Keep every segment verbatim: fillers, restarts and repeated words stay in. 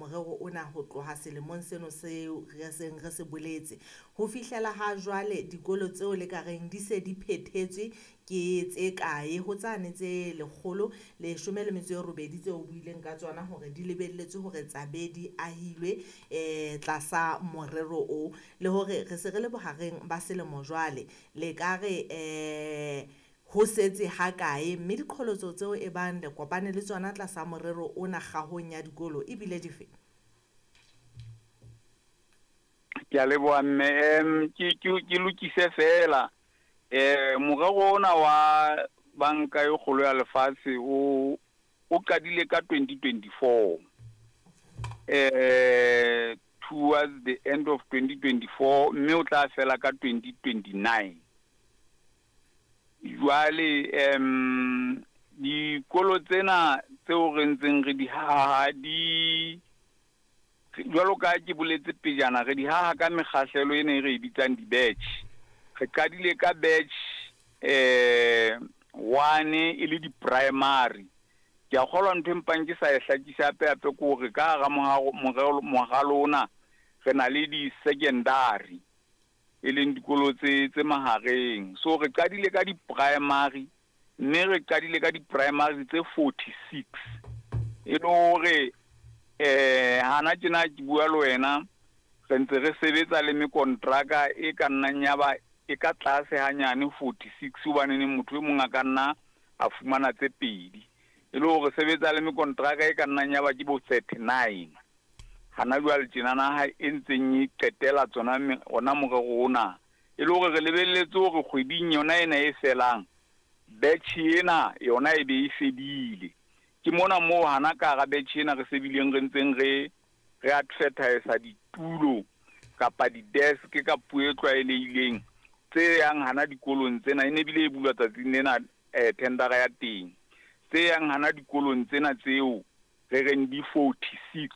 morero ona ho tloha selemong seno seo re seng re se boletse. Ho fihlela ha jwale dikolo tseo le ka reng di se di phethetswe ke tse kae ho tsane tse lekgolo leshome le metso e robedi tseo o buileng ka tsona hore di lebelletswe hore tsabe di ahilwe eh tlasa morero o, le hore re se re le bohareng ba selemo jwale le ka re eh ho setse ha kae, mme diqholotso tseo e bang le kopane le tsona tlasa morero ona kgahong ya dikolo ebile dife? Ke a leboha mme, em ke ke ke lokise fela eh morero ona wa banka e kgolo ya lefatshe o o qadile ka twenty twenty-four. Eh towards the end of twenty twenty-four mme o tla fela ka twenty twenty-nine. Jwale em dikolo tsena tseo re ntseng re di haha di jwalo ka ke boletse pejana re di haha ka mekgahlelo ena e re e bitsang di-batch. Re qadile ka batch eh one e le di-primary. Ke a kgolwa ntho e mpang ke sa e hlakisa hape hape ke hore ka hara morero moralo ona re na le di-secondary e leng dikolo tse tse mahareng. So re qadile ka di-primary mme re qadile ka di-primary tse forty-six. E le hore eh hana tjena ke bua le wena re ntse re sebetsa le mekontraka e ka nnang ya ba e ka tlase hanyane forty-six hobane motho e mong a ka nna a fumana tse pedi. E le hore sebetsa le mekontraka e ka nnang ya ba ke bo thirty-nine. Hana jwale tjena naha e ntseng e qetela tsona ona morero ona. E le hore re lebelletse hore kgweding yona ena e felang batch ena yona e be e fedile. Ke mona moo hana ka hara batch ena re sebileng re ntseng re re advertise ditulo kapa di-desk ka puo e tlwaelehileng tse yang hana dikolong tsena, e ne bile e bulwa tsatsing lena eh tendera ya teng. Tse yang hana dikolong tsena tseo re reng di forty-six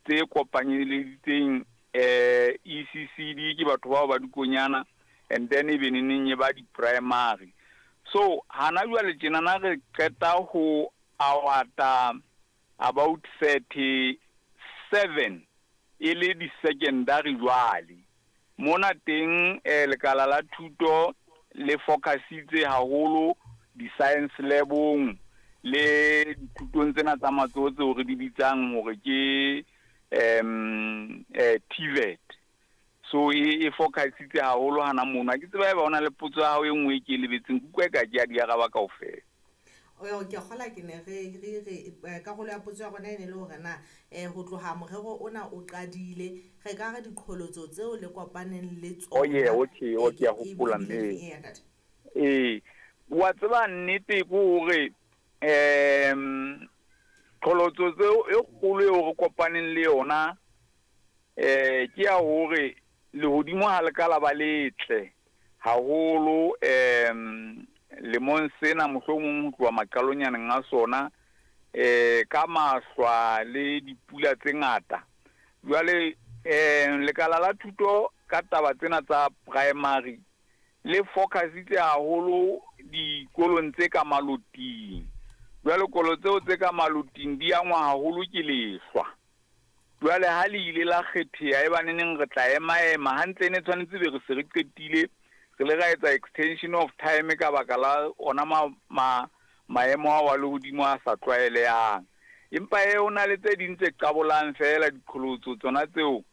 tse kopanyeleditseng eh E C C D ke batho bao ba dikonyana and then e be neneng e ba di-primary. So hana jwale tjena na re qeta ho awata about thirty-seven e le di-secondary jwale. Mona teng eh lekala la thuto le focusitse haholo di-science labong le dithutong tsena tsa matsoho tseo re di bitsang hore ke em eh T V E T. So e e focusitse haholo hana mono. Ha ke tseba eba hona le potso ya hao e nngwe e ke e lebetseng, ke utlwa eka ke a di araba kaofela. O ke kgola ke ne re re re karolo ya potso ya rona e ne le hore na eh ho tloha morero ona o qadile re ka re diqholotso tseo le kopaneng le Oh yeah, tsona okay, okay, a hopola mme. Eh wa tseba nnete ke hore em qholotso tseo e kgolo eo re kopaneng le yona eh ke ya hore lehodimo ha le ka la ba letle haholo em lemong sena mohlomong ho tloha maqalonyaneng a sona eh ka mahlwa le dipula tse ngata. Jwale eh lekala la thuto ka taba tsena tsa primary le focusitse haholo dikolong tse ka maloting. Jwale kolo tseo tse ka maloting di angwa haholo ke lehlwa. Jwale ha le ile la kgetheha e baneneng re tla ema ema hantle, ne tshwanetse be re se re qetile re le ra etsa extension of time ka baka la ona ma, ma, maemo ao a lehodimo a sa tlwaelehang. Empa e ho na le tse ding tse qabolang fela diqholotso tsona tseo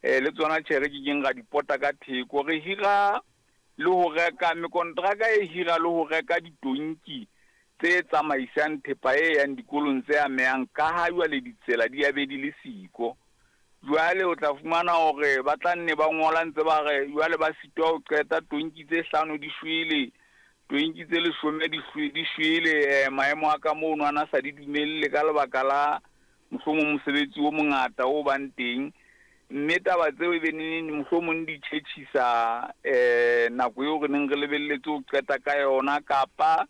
eh le tsona tjhe re kekeng ra di pota ka theko. Re hira le ho reka mekontraka e hira le ho reka ditonki tse tsamaisang thepa e yang dikolong tse amehang ka ha jwale ditsela di a be di le siko. Jwale o tla fumana hore ba tla nne ba ngola ntse ba re jwale ba sitwa ho qeta tonki tse hlano di shwele, tonki tse leshome di shwe-, di shwele, eh, maemo a ka mono a na sa di dumelle ka lebaka la mohlomong mosebetsi o mongata o bang teng. Mme taba tseo e be neneng mohlomong di tjhetjhisa, eh, nako eo re neng re lebelletse ho qeta ka yona, kapa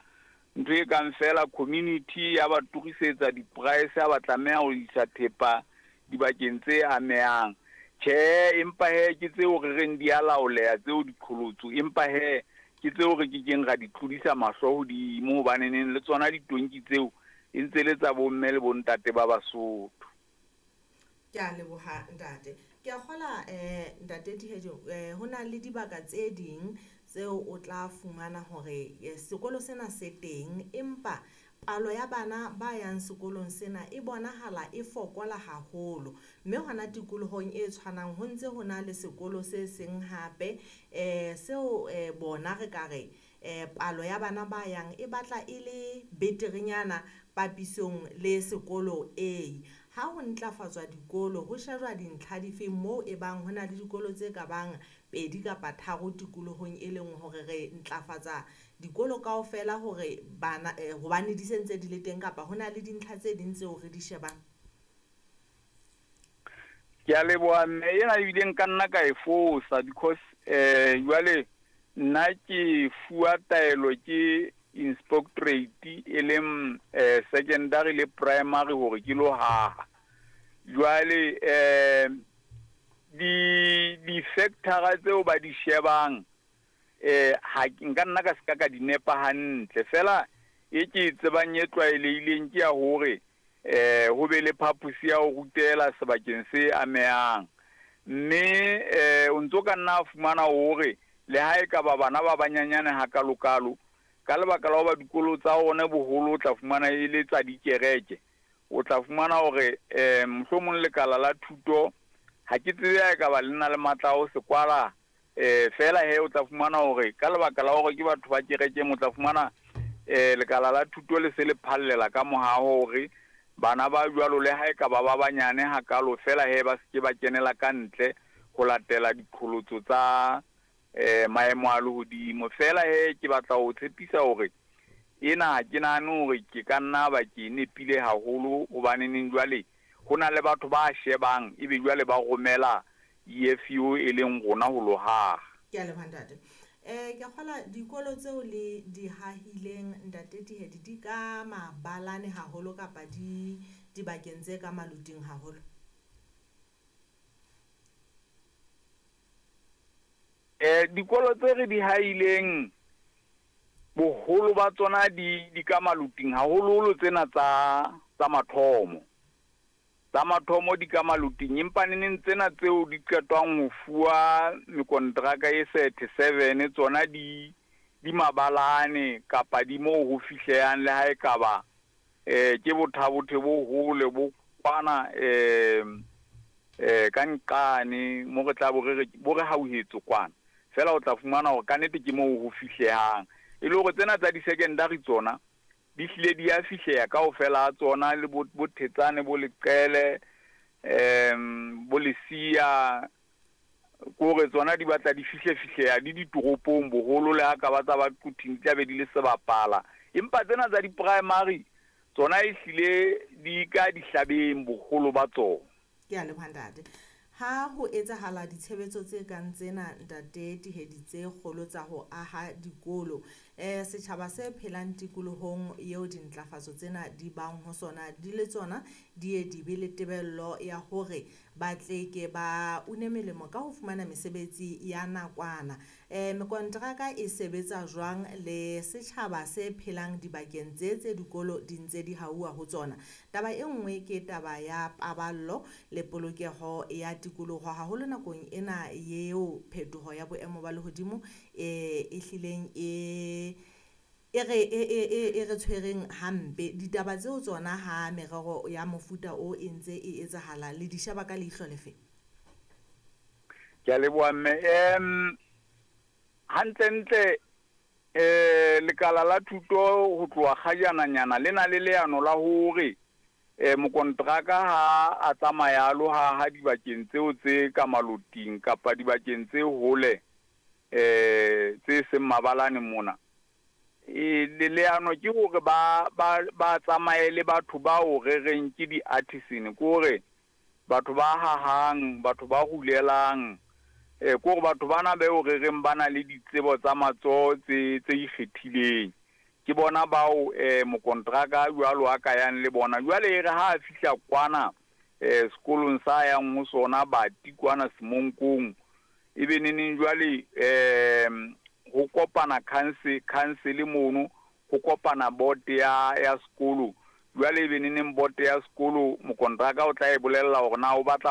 ntho e kang fela community ya ba turisetsa di-price ha ba tlameha ho isa thepa dibakeng tse amehang. Tjhe, empa he ke tseo re reng di a laoleha tseo diqholotso, empa he ke tseo re kekeng ra di tlodisa mahlo hodimo, hobaneneng le tsona ditonki tseo e ntse le tsa bomme le bontate ba Basotho. Ke a leboha ntate. Ke a kgola eh ntate Dihejo, eh ho na le dibaka tse ding tseo o tla fumana hore sekolo sena se teng, empa palo ya bana ba yang sekolong sena e bonahala e fokola haholo. Mme hona tikolohong e tshwanang ho ntse ho na le sekolo se seng hape eh seo eh bona re ka re eh palo ya bana ba yang e batla e le beterenyana papisong le sekolo A. Ha ho ntlafatswa dikolo ho shejwa dintlha dife moo e bang ho na le dikolo tse ka bang pedi kapa tharo tikolohong e leng hore re ntlafatsa dikolo kaofela hore bana hobane di sentse di le teng, kapa hona le dintlha tse ding tseo re di shebang? Ke a leboha mme, ena ebile nka nna ka e fosa because eh jwale nna ke fuwa taelo ke inspectorate e leng eh secondary le primary hore ke lo haha. Jwale eh di di factor tseo ba di shebang eh ha nka nna ka seka ka di nepa hantle, fela e ke tsebang e tlwaelehileng ke ya hore eh ho be le phaposi ya ho rutela sebakeng se amehang, mme eh o ntso ka nna fumana hore le ha e ka ba bana ba banyanyane hakalokalo ka lebaka la hoba dikolo tsa ona boholo o tla fumana e le tsa dikereke, o tla fumana hore eh mohlomong lekala la thuto ha ke tsebe ha e ka ba le na le matla a ho se kwala eh fela he o tla fumana hore ka lebaka la hore ke batho ba kereke mo tla fumana eh lekala la thuto le se le phallela ka mohaho hore bana ba jwalo le ha e ka ba ba banyane hakalo fela he ba se ke ba kenela ka ntle ho latela diqholotso tsa eh maemo a lehodimo. Fela he ke batla ho tshepisa hore ena ke nahane hore ke ka nna ba ke nepile haholo, hobane neng jwale ho na le batho ba shebang ebe jwale ba romela E F U e leng rona ho lo haha. Ke a leboha ntate. Eh ke kgola dikolo tseo le di hahileng ntate Dihedi di ka mabalane haholo kapa di dibakeng tse ka maluting haholo? Eh dikolo tse re di hahileng boholo ba tsona di di ka maluting haholoholo tsena tsa tsa mathomo. Tsa mathomo di ka maluting, empa neneng tsena tseo di qetwang ho fuwa mekontraka e thirty-seven tsona di di mabalane kapa di moo ho fihlehang le ha e ka ba eh ke bothabothe bo hole bo kwana eh eh ka nqane mo re tla bo re bo re hauhetse kwana, fela o tla fumana hore ka nnete ke moo ho fihlehang. E le hore tsena tsa di-secondary tsona di hlile di a fihleha kaofela ha tsona, le bo Thetsane, bo Leqele, um bo Lesia, kore tsona di batla di fihle fihleha di ditoropong boholo, le ha ka ba tsa ba Quthing di tla be di le sebapala. Empa tsena tsa di-primary tsona e hlile di ka dihlabeng boholo ba tsona. Ke a leboha ntate. Ha ho etsahala ditshebetso tse kang tsena ntate Dihedi tse kgolo tsa ho aha dikolo, eh setjhaba se phelang tikolohong eo dintlafatso tsena di bang ho sona di le tsona di ye di be le tebello ya hore ba tle ke ba une melemo ka ho fumana mesebetsi ya nakwana. Eh mekontraka e sebetsa jwang le setjhaba se phelang dibakeng tse tse dikolo di ntse di hauwa ho tsona? Taba e nngwe ke taba ya paballo le polokeho ya tikoloho, haholo nakong ena eo phetoho ya boemo ba lehodimo e e hlileng e e re e e e re tshwereng hampe. Ditaba tseo tsona ha merero ya mofuta o e ntse e etsahala le di sheba ka leihlo lefe? Ke a leboha mme. Em hantlentle eh lekala la thuto ho tloha kgajananyana le na le leano la hore eh mokontraka ha a tsamaya lo ha ha dibakeng tseo tse ka maloting kapa dibakeng tse hole eh tse seng mabalane mona, e le leano ke hore ba ba ba tsamaye le batho bao re reng ke di-artisan, ke hore batho ba hahang, batho ba rulelang, eh ke hore batho bana beo re reng ba na le ditsebo tsa matsoho tse tse ikgethileng, ke bona bao eh mokontraka jwalo a ka yang le bona. Jwale e re ha a fihla kwana eh sekolong sa yang ho sona bati kwana Semonkong, ebe neneng jwale eh ho kopana council council mono, ho kopana board ya ya sekolo. Jwale e be neneng boto ya sekolo, mokontraka o tla e bolella hore na o batla